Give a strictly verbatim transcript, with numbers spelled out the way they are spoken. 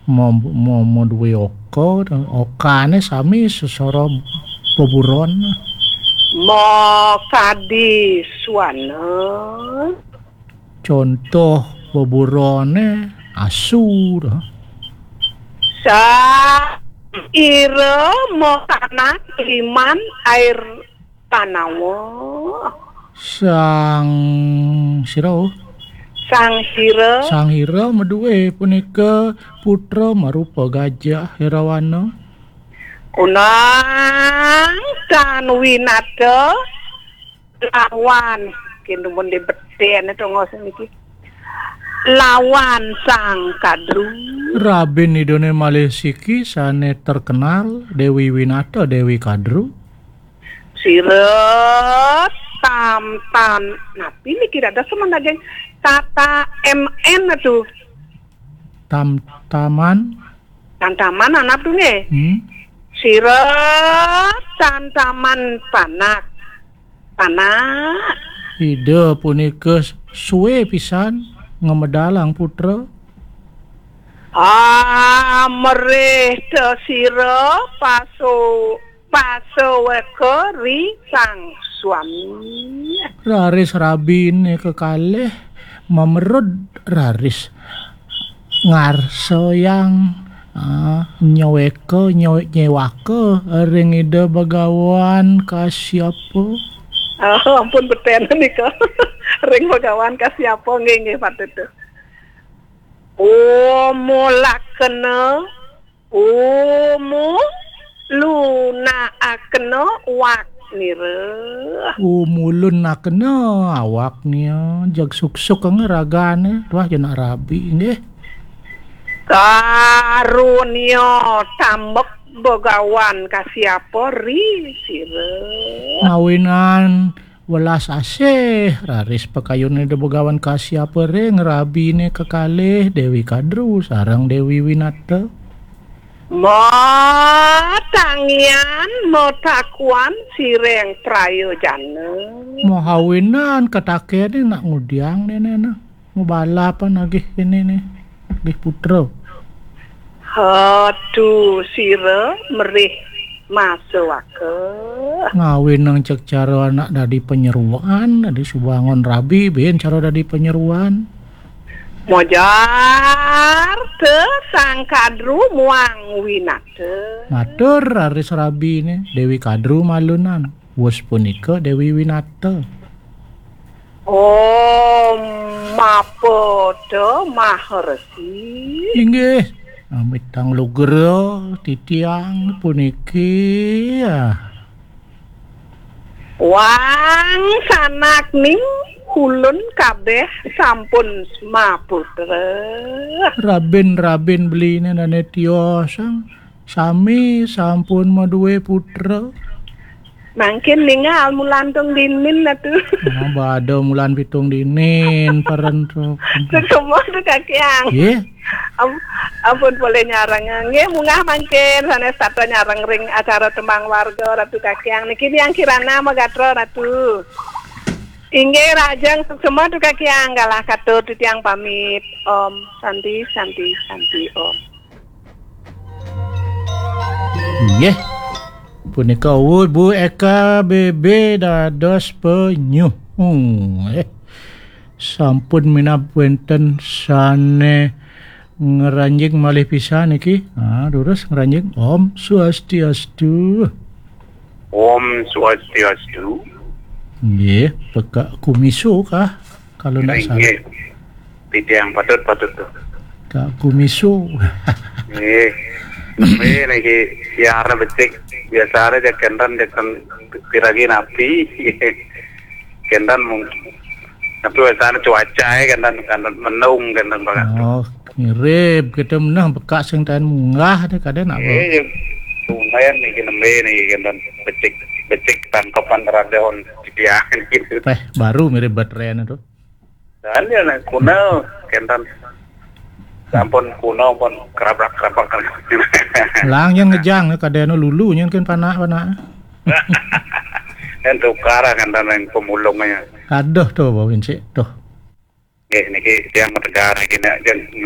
Mo, mo, mo duwe oka, okane sami sesara beburon. Mo kadi swana. Contoh beburone asu. Sa ira mo tanak liman air tanawa. Sang sira, oh. Sang Hira. Sang Hira maduwe punika putra marupa gajah Irawana. Kunang tan winata lawan, kinumun di beten tongos niki. Lawan Sang Kadru. Rabin idane malih siki sane terkenal, Dewi Winata, Dewi Kadru. Sira tam tan, napi niki dados semen daging tata M N tu? Tam taman. Tan taman anak tu nggih. Hmm. Sira tan taman panak. Panak. Ida punika suwe pisan ngamedalang putra. Amrih te sira pasu pasaweka ri sang swami. Raris rabine kekalih mamerud raris ngarsayang, ah, nyaweka, nyaw-, nyewaka ring Ida Bhagawan Kasyapa. Oh, ampun beten nika. Ring Bhagawan Kasyapa nggih, nggih patut tu. Omolakena, omo lunakena waknira. Omulunakena awaknya, jag suksuk anga ragane, tuah jenak rabi nggih. Karunia tambek Bhagawan Kasyapa ri sira. Ngawinan welas asih, raris pakayune Ida Bhagawan Kasyapa ring rabine kekalih Dewi Kadru sareng Dewi Winata. Matangian, matakuan sireng prayojana. Mahawinan katakene nak ngudiang nene nah. Mabalapan agih kene ne. Agih putra. Hatu sira merih masawaka. Ngawinang cek cara anak dadi panyeruan, dadi subangon rabi, ben cara dadi panyeruan. Mojar te Sang Kadru muang winata. Matur raris rabine, Dewi Kadru malunan. Wus punika Dewi Winata. Om Mapada Maharesi. Inggih, amitang lugra titiang puniki, ah. Wang sanak ning kulun kabeh sampun smaputra. Rabin-rabin beline dane tiosang. Sami sampun maduwe putra. Mangkin ningal mulan tung dinin atu. Nah, bada mulan pitung dinin, paren tu. Suksma tu kakiang. Nggih. Am-, ampun polih nyareng. Nggih, munggah mangkin sanes tata nyareng ring acara tembang warga Ratu Kakiang. Niki Diang Kirana Magatra Ratu. Inggih, rahajeng suksma tu kakiang, galah katur titiang pamit. Om Santi, Santi, Santi Om. Nggih. Punika uwuh Bu Eka B B dados penyuh. Hmm, eh. Sampun minab wenten sane ngranjing malih pisan niki. Ah, durus ngranjing. Om Swastiastu. Om Swastiastu. Nggih, pekak kumiso kah? Kalau ndak salah. Nggih. Titiang patut, patut tu. Kak kumiso. Nggih. Nggih, niki siara becik. Biasa aja kenten, kenten piragi napi. Kenten mungkin. Tapi biasanya cuaca ya, kenten, kenten mendung, kenten banget. Oh, mirip kita menang pekak sing taen munggah deh, kadang apa? Nggih, lumayan niki nembe niki kenten becik, becik tangkepan radon titiang gitu. Eh, baru mirip baterai itu. Dan ya, nah, kuno, kenten. Sampun kuno pun kerabrak-kerabrak. Lang yang ngejang kadeno lulu nyen kan panak-panak. Dan tukar kenten yang pemulungnya. Aduh tuh, Bawin sih, tuh. Nggih, niki tiang Metegar niki nak jen